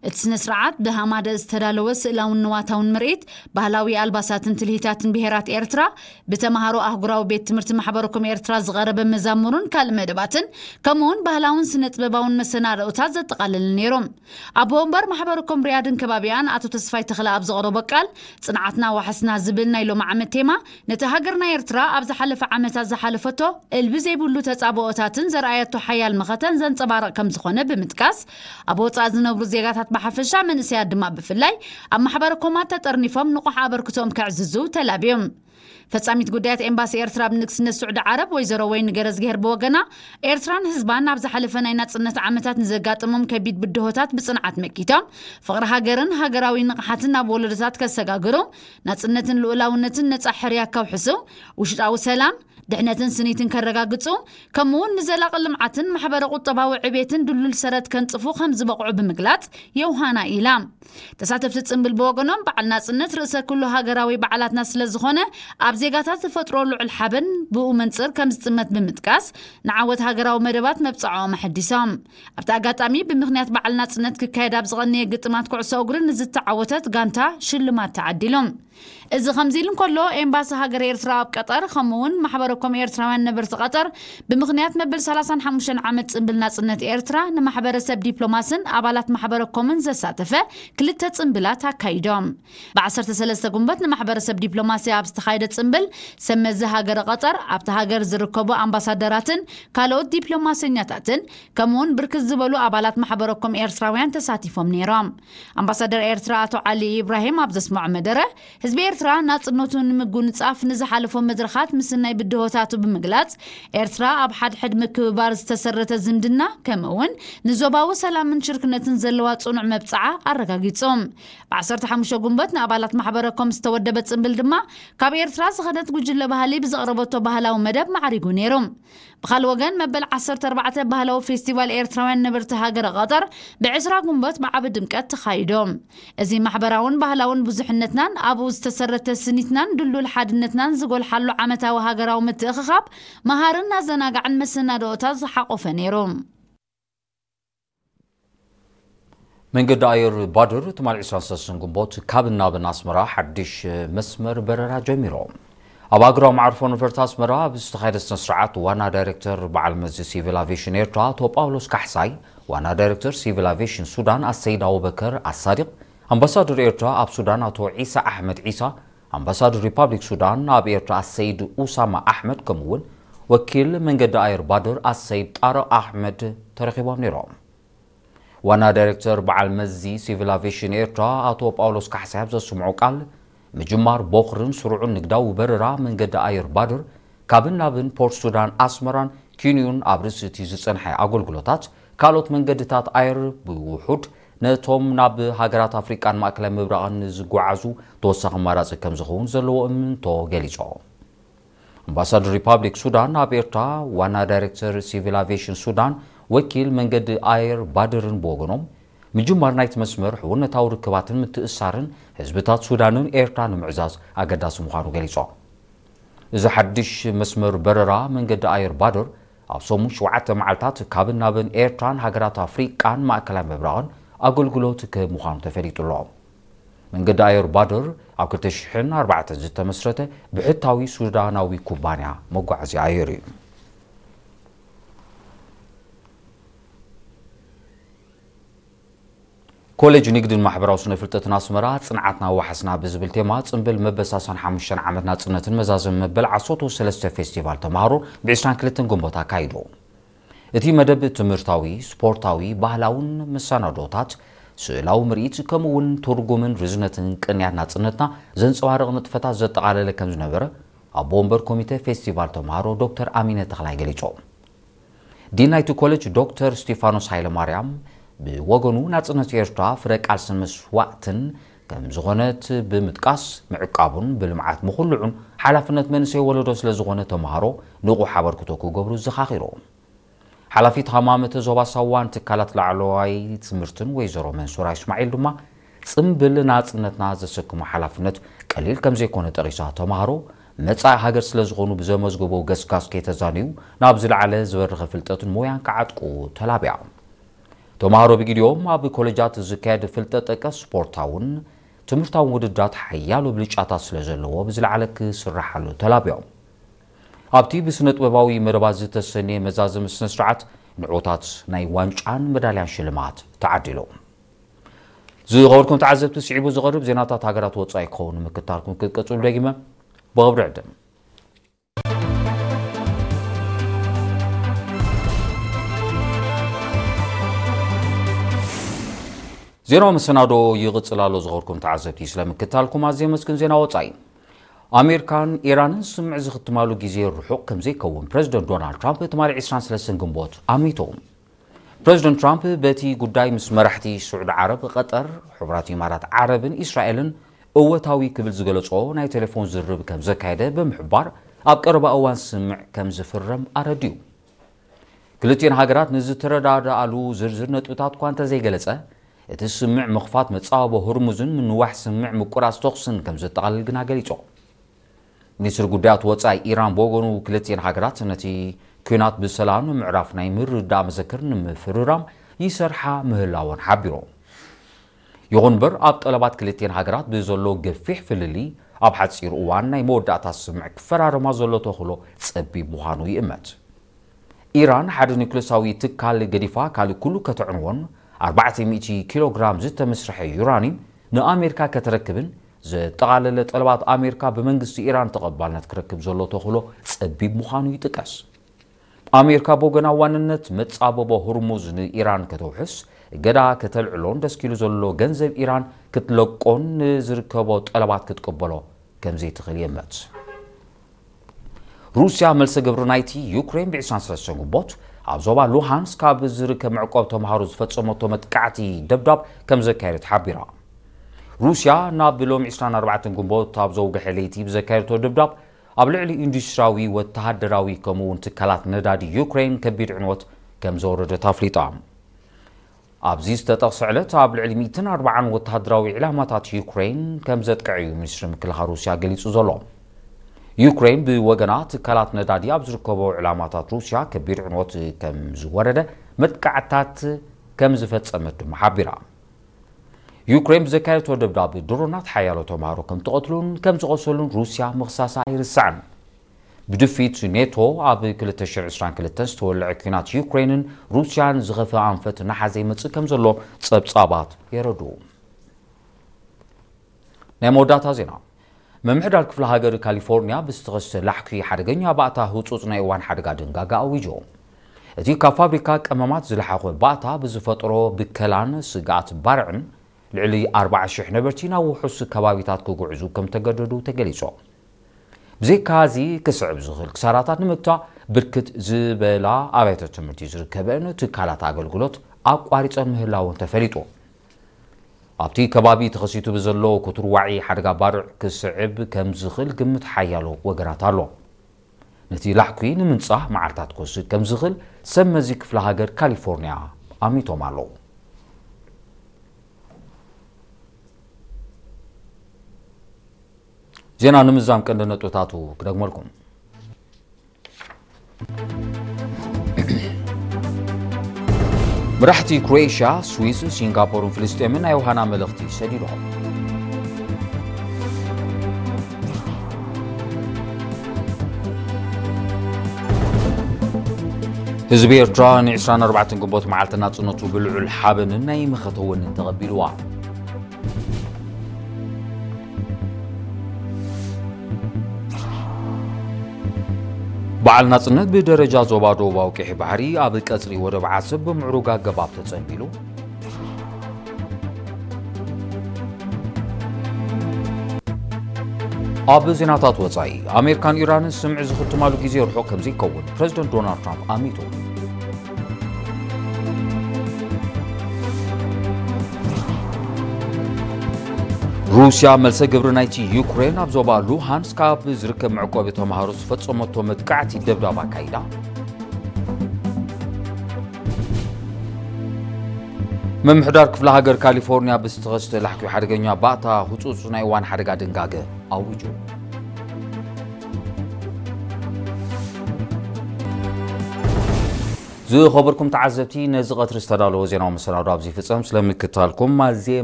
እቲ ስነ ስርዓት ብሃማደ ዝተዳለወ ስእላውን ንዋታውን ምርኢት ባህላዊ ኣልባሳትን ትልሂታትን ብሄራት ኤርትራ ብተምሃሮ ኣህጉራዊ ቤት ትምህርቲ ማሕበረኮም ኤርትራ ዝቐረበ መዛሙርን ካልእ መደባትን ከምኡውን ባህላውን ስነ ጥበባውን መሰናድኦታት ዘጠቓለለ ነይሩ። ኣቦ ወንበር ማሕበረኮም ሪያድን ከባቢኣን ኣቶ ተስፋይ ተኽለ ኣብ ዘቕረቦ ቃል፣ ጽንዓትና ዋሕስና ዝብል ናይ ሎሚ ዓመት ቴማ ነቲ ሃገርና ኤርትራ ኣብ ዝሓለፈ ዓመታት ዝሓለፈቶ እልቢ ዘይብሉ ተጻብኦታትን ዘርኣየቶ ሓያል መኸተን ዘንጸባርቕ ከም ዝኾነ ብምጥቃስ፣ ኣብ ወጻኢ ዝነብሩ ዜጋታት ብሓፈሻ መንእሰያት ድማ ብፍላይ ኣብ ማሕበረኮማት ተጠርኒፎም ንቑሕ ኣበርክቶኦም ከዕዝዙ ተላብዮም። ፈጻሚት ጉዳያት ኤምባሲ ኤርትራ ኣብ ንግስነት ስዑዲ ዓረብ ወይዘሮ ወይኒ ገረዝግሄር ብወገና፣ ኤርትራን ህዝባን ኣብ ዝሓለፈ ናይ ናጽነት ዓመታት ንዘጋጠሞም ከቢድ ብድሆታት ብጽንዓት መኪቶም፣ ፍቕሪ ሃገርን ሃገራዊ ንቕሓትን ናብ ወለዶታት ከሰጋግሩ፣ ናጽነትን ልኡላውነትን ነጻ ሕርያ ከውሕሱ፣ ውሽጣዊ ሰላም፣ ድሕነትን ስኒትን ከረጋግጹ፣ ከምኡውን ንዘላቒ ልምዓትን ማሕበረ ቁጠባዊ ዕቤትን ድሉል ሰረት ከንጽፉ ከም ዝበቕዑ ብምግላጽ፣ የውሃና ኢላ። ተሳተፍቲ ጽምብል ብወገኖም፣ በዓል ናጽነት ርእሰ ኩሉ ሃገራዊ በዓላትና ስለ ዝኾነ፣ ኣብ ዜጋታት ዝፈጥሮ ልዑል ሓበን ብኡ መንጽር ከም ዝጥመት ብምጥቃስ፣ ንዓወት ሃገራዊ መደባት መብጽዓኦም ኣሐዲሶም። ኣብቲ ኣጋጣሚ፣ ብምኽንያት በዓል ናጽነት ክካየድ ኣብ ዝቐነየ ግጥማት ኩዕሶ እግሪ ንዝተዓወተት ጋንታ ሽልማት ተዓዲሉ። እዚ ከምዚ ኢሉ እንከሎ፣ ኤምባሲ ሃገረ ኤርትራ ኣብ ቀጠር፣ ከምኡ እውን ማሕበረኮም ኤርትራውያን ነበርቲ ቀጠር፣ ብምኽንያት መበል ሰላሳን ሓሙሽተን ዓመት ጽምብል ናጽነት ኤርትራ፣ ንማሕበረሰብ ዲፕሎማስን ኣባላት ማሕበረኮምን ዘሳተፈ ክልተ ጽምብላት ኣካይዶም። ብ ዓሰርተ ሰለስተ ጉንበት ንማሕበረሰብ ዲፕሎማሲ ኣብ ዝተኻየደ ጽምብል፣ ሰብ መዚ ሃገረ ቀጠር፣ ኣብቲ ሃገር ዝርከቡ ኣምባሳደራትን ካልኦት ዲፕሎማሰኛታትን፣ ከምኡውን ብርክት ዝበሉ ኣባላት ማሕበረኮም ኤርትራውያን ተሳቲፎም ነይሮም። ኣምባሳደር ኤርትራ ኣቶ ዓሊ ኢብራሂም ኣብ ዘስምዖ መደረ፣ ህዝቢ ኤርትራ ናጽነቱ ንምጉንጻፍ ንዝሓለፎ መድረኻት ምስናይ ብድሆታቱ ብምግላጽ፣ ኤርትራ ኣብ ሓድሕድ ምክብባር ዝተሰረተ ዝምድና፣ ከምኡውን ንዞባዊ ሰላምን ሽርክነትን ዘለዋ ጽኑዕ መብጽዓ ኣረጋጊጹ። ብ ዓሰርተ ሓሙሽተ ጉንበት ንኣባላት ማሕበረኮም ዝተወደበ ጽምብል ድማ፣ ካብ ኤርትራ ዝኸደት ጉጅለ ባህሊ ብዘቕረበቶ ባህላዊ መደብ ማዕሪጉ ነይሩ። ብኻልእ ወገን፣ መበል ዓሰርተ ኣርባዕተ ባህላዊ ፌስቲቫል ኤርትራውያን ነበርቲ ሃገረ ቀጠር ብ ዕስራ ጉንበት ብዓቢ ድምቀት ተኻይዶ። እዚ ማሕበራውን ባህላውን ብዙሕነትናን ኣብኡ ዝተሰረተ ስኒትናን ድሉል ሓድነትናን ዝጎልሓሉ ዓመታዊ ሃገራዊ ምትእኽኻብ፣ መሃርን ኣዘናጋዕን መሰናድኦታት ዝሓቖፈ ነይሩ። መንገዲ ኣየር ባድር ትማል ዕስራን ሰለስተን ግንቦት ካብን ናብን ኣስመራ ሓድሽ መስመር በረራ ጀሚሩ። ኣብ ኣግራብ መዓርፎ ነፈርቲ ኣስመራ ኣብ ዝተኻየደ ስነ ስርዓት ዋና ዳይሬክተር በዓል መዚ ሲቪል ኣቪሽን ኤርትራ ኣቶ ጳውሎስ ካሕሳይ፣ ዋና ዳይሬክተር ሲቪል ኣቪሽን ሱዳን ኣሰይድ ኣቡበከር ኣሳዲቕ፣ ኣምባሳደር ኤርትራ ኣብ ሱዳን ኣቶ ዒሳ ኣሕመድ ዒሳ፣ ኣምባሳደር ሪፓብሊክ ሱዳን ኣብ ኤርትራ ኣሰይድ ኡሳማ ኣሕመድ፣ ከምኡ'ውን ወኪል መንገዲ ኣየር ባድር ኣሰይድ ጣርቕ ኣሕመድ ተረኺቦም ነይሮም። ዋና ዳይሬክተር በዓል መዚ ሲቪል ኣቪሽን ኤርትራ ኣቶ ጳውሎስ ካሕሳይ ኣብ ዘስምዖ ቃል፣ ምጅማር ቦኽርን ስሩዕን ንግዳዊ በረራ መንገዲ ኣየር ባድር ካብን ናብን ፖርት ሱዳን ኣስመራን ኪንዩን ኣብ ርእሲ እቲ ዝጸንሐ ኣገልግሎታት፣ ካልኦት መንገድታት ኣየር ብውሑድ ነቶም ናብ ሃገራት ኣፍሪቃን ማእከላይ ምብራቕን ዝጓዓዙ ተወሳኺ ኣማራጺ ከም ዝኸውን ዘለዎ እምንቶ ገሊጾም። ኣምባሳደር ሪፓብሊክ ሱዳን ኣብ ኤርትራ፣ ዋና ዳይሬክተር ሲቪል ኣቪዬሽን ሱዳን፣ ወኪል መንገዲ ኣየር ባድርን ብወገኖም፣ ምጅማር ናይቲ መስመር ሕውነታዊ ርክባትን ምትእስሳርን ህዝብታት ሱዳንን ኤርትራን ንምዕዛዝ ኣገዳሲ ምዃኑ ገሊጾም። እዚ ሓድሽ መስመር በረራ መንገዲ ኣየር ባድር ኣብ ሰሙን ሸውዓተ መዓልታት ካብን ናብን ኤርትራን ሃገራት ኣፍሪቃን ማእከላይ ምብራቕን ኣገልግሎት ክህብ ምዃኑ ተፈሊጡ ኣሎ። መንገዲ ኣየር ባድር ኣብ ክልተ ሽሕን ኣርባዕተን ዝተመስረተ ብሕታዊ ሱዳናዊ ኩባንያ መጓዓዝያ ኣየር እዩ። ኮሌጅ ንግድን ማሕበራዊ ስነ ፍልጠትን ኣስመራ፣ ጽንዓትና ዋሕስና ብዝብል ቴማ፣ ጽምብል መበል ሰላሳን ሓሙሽተን ዓመት ናጽነትን መዛዘሚ መበል ዓሰርተ ሰለስተ ፌስቲቫል ተማሃሮ ብ ዕስራን ክልተን ግንቦት ኣካይዱ። እቲ መደብ ትምህርታዊ፣ ስፖርታዊ፣ ባህላውን መሰናዶታት፣ ስእላዊ ምርኢት፣ ከምኡ እውን ትርጉምን ርዝነትን ቅንያት ናጽነትና ዘንጸባርቕ ንጥፈታት ዘጠቓለለ ከም ዝነበረ፣ ኣቦ ወንበር ኮሚተ ፌስቲቫል ተማሃሮ ዶክተር ኣሚነ ተኽላይ ገሊጾም። ዲን ናይቲ ኮሌጅ ዶክተር ስቲፋኖስ ሃይለማርያም ብወገኑ፣ ናጽነት ኤርትራ ፍረ ቃልስን መስዋእትን ከም ዝኾነት ብምጥቃስ፣ ምዕቃቡን ብልምዓት ምኹልዑን ሓላፍነት መንእሰይ ወለዶ ስለ ዝኾነ፣ ተማሃሮ ንቑሕ ኣበርክቶ ክገብሩ ዘኻኺሩ። ሓላፊት ሃማመተ ዞባ ሳዋን ትካላት ላዕለዋይ ትምህርትን ወይዘሮ መንሱራ እስማዒል ድማ፣ ጽምብል ናጽነትና ዘሰክሞ ሓላፍነት ቀሊል ከም ዘይኮነ ጠቒሳ፣ ተማሃሮ መጻኢ ሃገር ስለ ዝኾኑ፣ ብዘመዝገቦ ገስጋስ ከይተዛነዩ፣ ናብ ዝለዓለ ዝበረኸ ፍልጠትን ሞያን ክዓጥቁ ተላብያ። ተምሃሮ ብግዲኦም ኣብ ኮለጃት ዝካየድ ፍልጠት ጠቀስ ስፖርታውን ትምህርታውን ውድድራት ሓያሎ ብልጫታት ስለ ዘለዎ ብዝለዓለ ክስራሓሉ ተላብዮም። ኣብቲ ብስነ ጥበባዊ መደባት ዝተሰነየ መዛዘሚ ስነ ስርዓት ንዕወታት ናይ ዋንጫን መዳልያን ሽልማት ተዓዲሉ። ዝኸበርኩም ተዓዘብቲ፣ ስዒቡ ዝቐርብ ዜናታት ሃገራት ወጻኢ ክኸውን ንምክታልኩም ክትቀጽሉ ደጊመ ብኽብሪ ዕድም። ዜናዊ መሰናዶ ይቕጽል ኣሎ። ዝኸበርኩም ተዓዘብቲ፣ ስለምክታልኩም ኣዝየ መስግን። ዜና ወጻኢ። ኣሜሪካን ኢራንን ስምምዕ ዝኽትማሉ ግዜ ርሑቕ ከም ዘይከውን ፕረዚደንት ዶናልድ ትራምፕ ትማሊ ዕስራን ሰለስተን ግንቦት ኣሚቱ። ፕረዚደንት ትራምፕ በቲ ጉዳይ ምስ መራሕቲ ስዑዲ ዓረብ፣ ቐጠር፣ ሕቡራት ኢማራት ዓረብን እስራኤልን እወታዊ ክብል ዝገለጾ ናይ ቴሌፎን ዝርርብ ከም ዘካየደ ብምሕባር፣ ኣብ ቀረባ እዋን ስምምዕ ከም ዝፍረም ኣረዲኡ። ክልቲኤን ሃገራት ንዝተረዳድኣሉ ዝርዝር ነጥብታት እኳ እንተዘይገለጸ፣ እቲ ስምምዕ ምኽፋት መጻወቦ ሆርሙዝን ምንዋሕ ስምምዕ ምቁራጽ ተኹስን ከም ዘጠቓልል ግና ገሊጹ። ሚኒስትሪ ጉዳያት ወጻኢ ኢራን ብወገኑ፣ ክልቲኤን ሃገራት ነቲ ኲናት ብሰላም ንምዕራፍ ናይ ምርድዳእ መዘክር ንምፍርራም ይሰርሓ ምህላወን ሓቢሩ። ይኹን እምበር፣ ኣብ ጠለባት ክልቲኤን ሃገራት ብዘሎ ገፊሕ ፍልልይ፣ ኣብ ሓጺር እዋን ናይ መወዳእታ ስምምዕ ክፈራረማ ዘሎ ተኽእሎ ጸቢብ ምዃኑ ይእመት። ኢራን ሓደ ኒውክለሳዊ ትካል ገዲፋ ካልእ ኩሉ ከተዕንዎን ኣርባዕተ ሚእቲ ኪሎ ግራም ዝተመስርሐ ዩራኒየም ንኣሜሪካ ከተረክብን ዘጠቓለለ ጠለባት ኣሜሪካ ብመንግስቲ ኢራን ተቐባልነት ክረክብ ዘሎ ተኽእሎ ጸቢብ ምዃኑ ይጥቀስ። ኣሜሪካ ብወገና ዋንነት መጻበቦ ሆርሙዝ ንኢራን ከተውሕስ፣ እገዳ ከተልዕሎን ደስኪሉ ዘሎ ገንዘብ ኢራን ክትለቆን ንዝርከቦ ጠለባት ክትቅበሎ ከም ዘይትኽእል ይእመት። ሩስያ መልሰ ግብሪ ናይቲ ዩክሬን ብ ዕስራን ሰለስተን ግንቦት ኣብ ዞባ ሉሃንስክ ኣብ ዝርከብ መዕቆብ ተምሃሮ ዝፈጸመቶ መጥቃዕቲ ደብዳብ ከም ዘካየደት ሓቢራ። ሩስያ ናብ ሎሚ ዕስራን ኣርባዕተን ግንቦት ኣብ ዘውግሐ ለይቲ ብዘካየደቶ ደብዳብ፣ ኣብ ልዕሊ ኢንዱስትሪያዊ፣ ወተሃደራዊ ከምኡ እውን ትካላት ነዳዲ ዩክሬን ከቢድ ዕንወት ከም ዘወረደት ኣፍሊጣ። ኣብዚ ዝተጠቕሰ ዕለት ኣብ ልዕሊ ሚእትን ኣርባዓን ወተሃደራዊ ዕላማታት ዩክሬን ከም ዘጥቅዐ እዩ ሚኒስትሪ ምክልኻል ሩስያ ገሊጹ ዘሎ። ዩክሬን ብወገና ትካላት ነዳዲ ኣብ ዝርከቦ ዕላማታት ሩስያ ከቢድ ዕንወት ከም ዝወረደ መጥቃዕታት ከም ዝፈጸመት ድማ ሓቢራ። ዩክሬን ብዘካየደቶ ደብዳብ ድሮናት ሓያሎ ተምሃሮ ከም ትቐትሉን ከም ዝቖሰሉን ሩስያ ምኽሳሳ ኣይርሳዕን። ብድፊት ኔቶ ኣብ ክልተ ሽሕን ዕስራን ክልተን ዝተወልዐ ኲናት ዩክሬንን ሩስያን ዝኸፍአ ኣንፈት እናሓዘ ይመጽእ ከም ዘሎ ጸብጻባት የረድኡ። ናይ መወዳእታ ዜና። ምምሕዳር ክፍለ ሃገር ካሊፎርኒያ ብዝተኸስተ ላሕኲ ሓደገኛ ባእታ ህጹጽ ናይ እዋን ሓደጋ ድንጋጋ ኣዊጁ። እቲ ካብ ፋብሪካ ቀመማት ዝለሓኾ ባእታ ብዝፈጠሮ ብከላን ስግኣት ባርዕን ልዕሊ ኣርባዓ ሽሕ ነበርቲ ናብ ውሑስ ከባቢታት ክጉዕዙ ከም ተገደዱ ተገሊጹ። ብዘይካ እዚ ክስዕብ ዝኽእል ክሳራታት ንምግታእ ብርክት ዝበላ ኣብያተ ትምህርቲ ዝርከበን ትካላት ኣገልግሎት ኣቋሪጸን ምህላወን ተፈሊጡ። ኣብቲ ከባቢ ተኸሲቱ ብዘሎ ክቱር ዋዒ ሓደጋ ባርዕ ክስዕብ ከም ዝኽእል ግምት ሓያሎ ወገናት ኣሎ። ነቲ ላሕኲ ንምንጻህ መዓልታት ክወስድ ከም ዝኽእል ሰብ መዚ ክፍለ ሃገር ካሊፎርኒያ ኣሚቶም ኣለዉ። ዜና ንምዛም ቀንዲ ነጥብታቱ ክደግመልኩም። መራሕቲ ክሮኤሽያ፣ ስዊስ፣ ሲንጋፖርን ፍልስጤምን ናይ ዮሃና መልእኽቲ ሰዲዶም። ህዝቢ ኤርትራ ን ዕስራን ኣርባዕተን ግንቦት መዓልቲ ናጽነቱ ብልዑል ሓበንን ናይ መኸተ ወንን ተቐቢልዋ። በዓል ናጽነት ብደረጃ ዞባ ደቡባዊ ቀይሕ ባሕሪ ኣብ ቀጽሪ ወደብ ዓሰብ ብምዕሩግ ኣገባብ ተጸንቢሉ። ኣብ ዜናታት ወጻኢ፣ ኣሜሪካን ኢራንን ስምምዕ ዝኽትማሉ ግዜ ርሑቕ ከም ዘይከውን ፕረዚደንት ዶናልድ ትራምፕ ኣሚቱ። ሩስያ መልሰ ግብሪ ናይቲ ዩክሬን ኣብ ዞባ ሉሃንስክ ኣብ ዝርከብ መዕቆቢ ተምሃሮ ዝፈጸመቶ መጥቃዕቲ ደብዳብ ኣካይዳ። ምምሕዳር ክፍለ ሃገር ካሊፎርኒያ ብዝተኸስተ ላሕኲ ሓደገኛ ባእታ ህጹጽ ናይ እዋን ሓደጋ ድንጋገ ኣዊጁ። ዝኸበርኩም ተዓዘብቲ፣ ነዚ ቀትሪ ዝተዳለወ ዜናዊ መሰናዶ ኣብዚ ይፍጸም። ስለምክታልኩም ኣዝየ